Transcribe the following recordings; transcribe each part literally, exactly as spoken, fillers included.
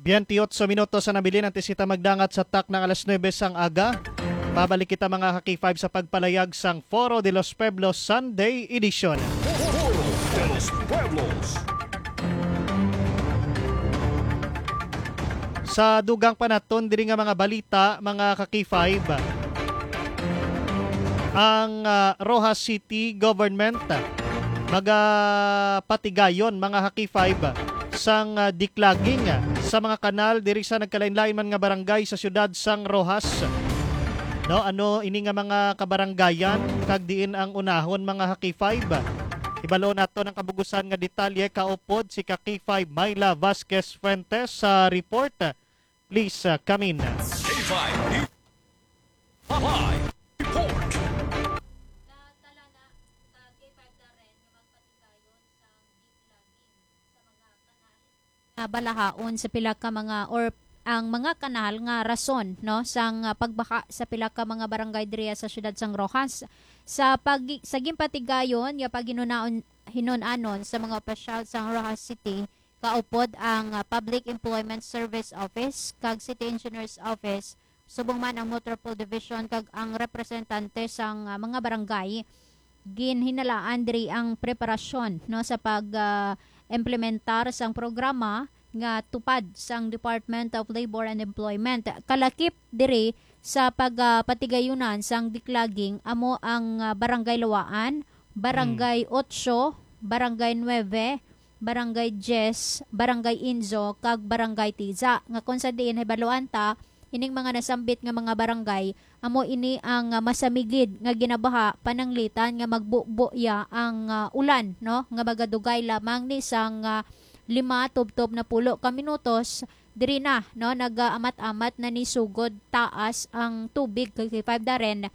Twenty-ocho minutos ang nabilin antes kita magdangat sa takna alas nuebe sang aga. Pabalik kita, mga ka-K five, sa pagpalayag sang Foro de los Pueblos Sunday Edition. Foro de los Pueblos. Sa dugang pa naton diri nga mga balita, mga ka-K five, ang, ah, Roxas City Government magapatigayon, mga ka-K five, sang, ah, declogging sa mga kanal diri sa nagkalain-lain man nga barangay sa siyudad sang Roxas. No, ano ini nga mga kabarangayan kag diin ang unahon, mga ka-K five? Ibalo nato ang kabugusan nga detalye kaupod si ka-K five Myla Vasquez Fuentes sa report. Please, uh, come in. K five News. Live report. Nga balahaon sa pila ka mga, or ang mga kanal nga rason, no, sang, ah, pagbaha sa pila ka mga barangay diriya sa siyudad sang Roxas. Sa pag-, sa ginpatigayon nga paghinunaon, hinunanon sa mga opisyal sang Roxas City, kaupod ang, ah, Public Employment Service Office kag City Engineers Office, subong man ang Metropol Division kag ang representante sang, ah, mga barangay. Ginhinalaan diri ang preparasyon, no, sa pag, ah, implementar sang programa nga tupad sang Department of Labor and Employment. Kalakip diri sa pag, ah, patigayunan sang declogging amo ang, ah, Barangay Lawaan, Barangay Ocho, Barangay Nueve, Barangay Diez, Barangay Inzo, kag Barangay Tiza, nga kung sa diin hibaluan ta, ining mga nasambit nga mga barangay, amo ini ang, ah, masamigid nga ginabaha, pananglitan nga magbubo ya ang, ah, ulan, no, nga magadugay lamang ni sang, ah, lima tubtob napulo ka minutos. Diri na, no, nagaamat-amat na ni sugod taas ang tubig, ka-K five Darren,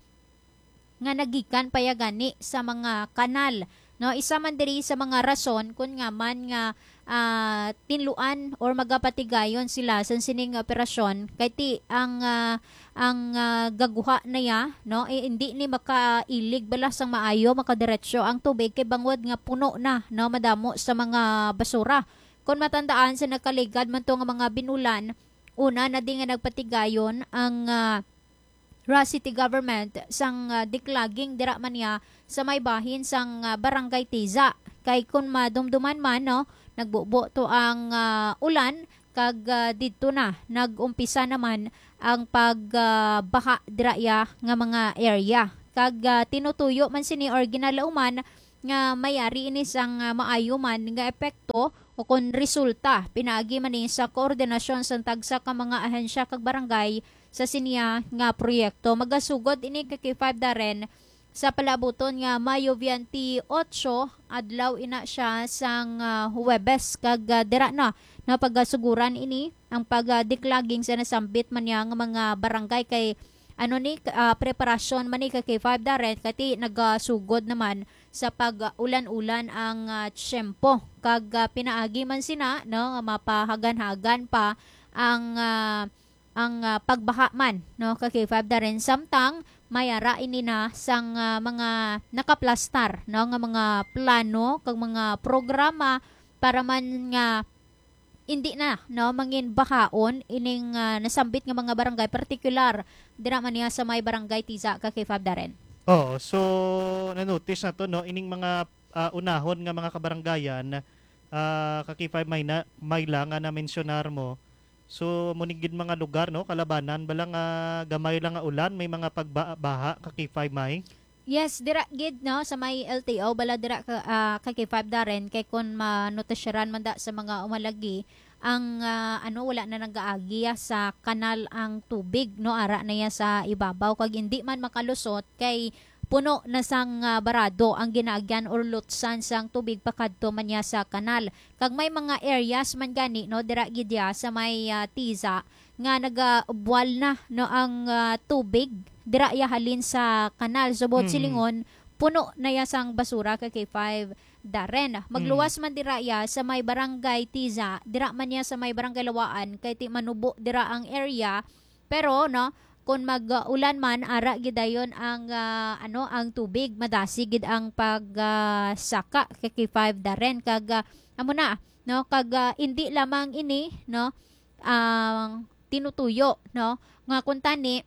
nga nagikan pa ya gani sa mga kanal, no? Isa man diri sa mga rason kun ngaa man nga, ah, tinluan or magapatigayon sila sa sining operasyon kay ti ang, ah, ang, ah, gaguha na ya, no? Eh, hindi ni makailig bala sang maayo, makadiretso ang tubig kay bangod nga puno na, no, madamo sa mga basura. Kon matandaan, sa nagkaligad man to nga mga binulan, una na di nga nagpatigayon ang, ah, Roxas City Government sang, ah, declogging dira man niya sa may bahin sang, ah, Barangay Tiza. Kay kun madumduman man, no, nagbubo to ang, ah, ulan kag, ah, didto na nag-umpisa naman ang pag, ah, baha dira iya nga mga area. Kag, ah, tinutuyo man sini or ginalauman nga mayari ini sang, ah, maayo man nga epekto o kon resulta pinaagi man ni sa koordinasyon sang tagsa ka mga ahensya kag barangay sa siniya nga proyekto. Magasugod ini ka-K five Darren sa palaabuton nga Mayo twenty-eight, adlaw ina siya sang, ah, Huwebes, kag, ah, dira na napagasuguran ini ang pag, ah, declogging sa nasambit man niya nga mga barangay kay ano ni, ah, preparasyon man ni ka-K five Darren kay ti nagasugod naman sa pag-ulan-ulan ang, ah, tiyempo. Kag, ah, pinaagi man sina, no, nga mapahagan-hagan pa ang, ah, ang, ah, pagbaha man, no, ka-K five Darren. Samtang may ara ini na sang, ah, mga nakaplastar, no, nga mga plano kag mga programa para man nga hindi na, no, mangin bahaon ining, ah, nasambit nga mga barangay, partikular dira man niya sa may Barangay Tiza, ka-K five Darren. Oo, so na-notice nato, no, ining mga, ah, unahon nga mga kabarangayan, ah, ka-K five May na, May lang nga na-mensionar mo. So, mo ni gid mga lugar, no, kalabanan bala nga gamay lang nga ulan, may mga pagbaha, ka-K five May. Yes, dira gid, no, sa may L T O, bala dira ka, ah, ka-K five Darren, kay kun manotisyaran man da sa mga umalagi, ang, ah, ano, wala na nagaagi ya sa kanal ang tubig, no, ara na ya sa ibabaw, kag hindi man makalusot kay puno na sang, ah, barado ang ginaagyan or lutsan sang tubig pakadto man ya sa kanal. Kag may mga areas man gani, no, dira gid ya sa may, ah, Tiza nga nagabuwal na, no, ang, ah, tubig dira ya halin sa kanal. So, buot Mm. silingon, puno na ya sang basura, ka-K five Darren. Magluwas Mm. man dira ya sa may Barangay Tiza, dira man ya sa may Barangay Lawaan, kay ti manubo dira ang area. Pero, no, kung mag-ulan man, ara gid dayon ang, ah, ano, ang tubig, madasig gid ang pag, ah, saka, ka-K five Darren. Kag, ah, amo na, no, kag, ah, indi lamang ini, no, ang tinutuyo, no? Nga kuntani,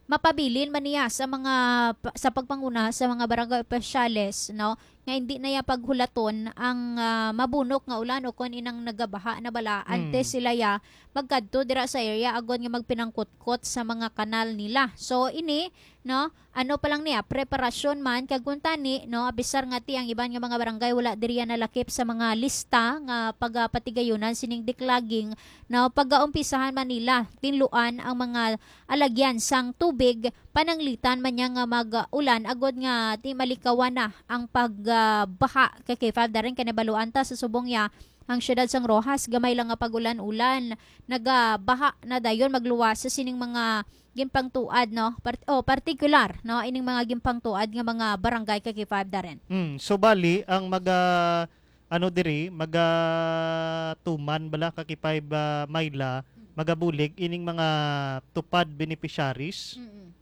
mapabilin man niya sa mga pa-, sa pagpanguna sa mga barangay opisyales, no, nga hindi na ya paghulaton ang, ah, mabunok nga ulan o kon inang nagabaha na bala, Mm. antes sila ya magkadto dira sa area agod nga magpinangkutkot sa mga kanal nila. So, ini, no, ano pa lang niya, preparasyon man, kag kuntani, no, abisar nga ti ang iban nga mga barangay wala diri ya nalakip sa mga lista nga pagapatigayunan sining declogging, no, pagaumpisahan man nila tinluan ang mga alagyan sang tubig, pananglitan man niya nga mag-ulan agod nga ti malikawan na ang pagbaha. Kay K five Darren, kay nabaluan ta sa subong ya ang siyudad sang Roxas, gamay lang nga pag-ulan-ulan, nagabaha na dayon magluwas sa sining mga ginpangtuad, no? Part-, oh, partikular, no, ining mga ginpangtuad nga mga barangay, kay K five Darren. Hmm, so bali ang maga, ano diri, maga tuman bala, kay K five, ah, Myla, magabulig ining mga tupad beneficiaries? Mm-mm.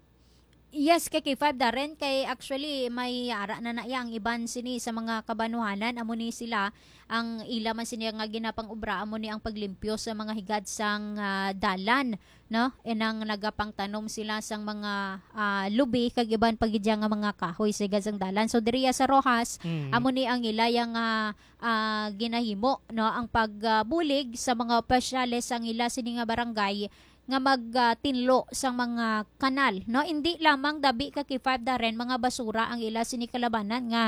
Yes, kay K five Darren, kay actually may ara na na iya ang iban sini sa mga kabanuhanan, amo ni sila ang ila man sini nga ginapang-obra, amo ni ang paglimpyo sa mga higad sang, ah, dalan, no? Inang nagapangtanom sila sang mga, ah, lubi kag iban pa gid nga mga kahoy sa higad sang dalan. So diriya sa Roxas, Mm. amo ni ang ila yang, ah, ah, ginahimo, no? Ang pagbulig sa mga opisyales sang ila sini nga barangay nga mag, ah, tinlo sang mga kanal, no? Hindi lamang dabi, kay K five Darren, mga basura ang ila sini kalabanan nga,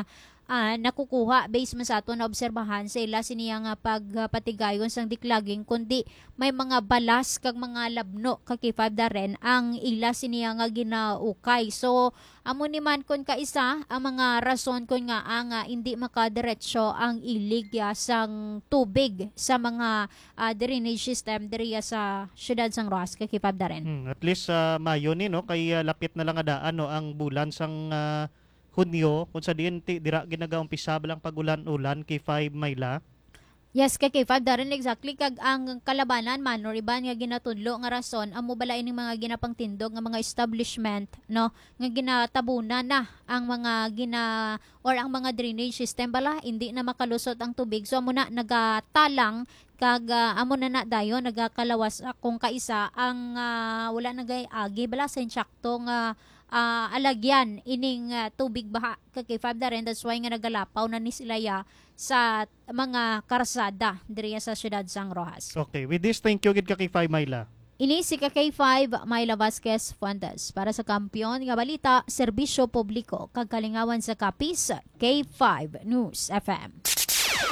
ah, nakukuha based man sa aton naobserbahan sa ila sini nga pagpatigayon sang declogging, kundi may mga balas kag mga labno, kay K five Darren, ang ila sini nga ginaukay. So, amo ni man kon kaisa ang mga rason kon ngaa nga hindi makadiretso ang ilig, ah, sang tubig sa mga, ah, drainage system diriya sa siyudad sang Roxas, kay K five Darren. Hmm, at least, ah, maayo ni, no, kay, ah, lapit na lang nga daan, no, ang bulan sang, ah, Hunyo, kung sa diin ti dira ginagaumpisa lang pag-ulan-ulan, K five Myla. Yes, kay K five Darren, exactly. Kag ang kalabanan man or iban nga ginatudlo nga rason, amo bala ining mga ginapangtindog nga mga establishment, no, nga ginatabunan na ang mga gina-, or ang mga drainage system bala, hindi na makalusot ang tubig. So, amo na nagatalang kag, ah, amo na na dayon nagakalawas, ah, kung kaisa ang, ah, wala nagay-agi bala sa insakto nga, ah, alagyan ining, ah, tubig baha, kay K five Darren. That's why nga nagalapaw na ni sila ya sa mga karsada diriya sa siyudad sang Roxas. Okay, with this, thank you gid ka K five Myla. Ini si ka K five, Myla Vasquez Fuentes, para sa Kampiyon nga Balita, Serbisyo Publiko, kag Kalingawan sa Capiz, K five News F M.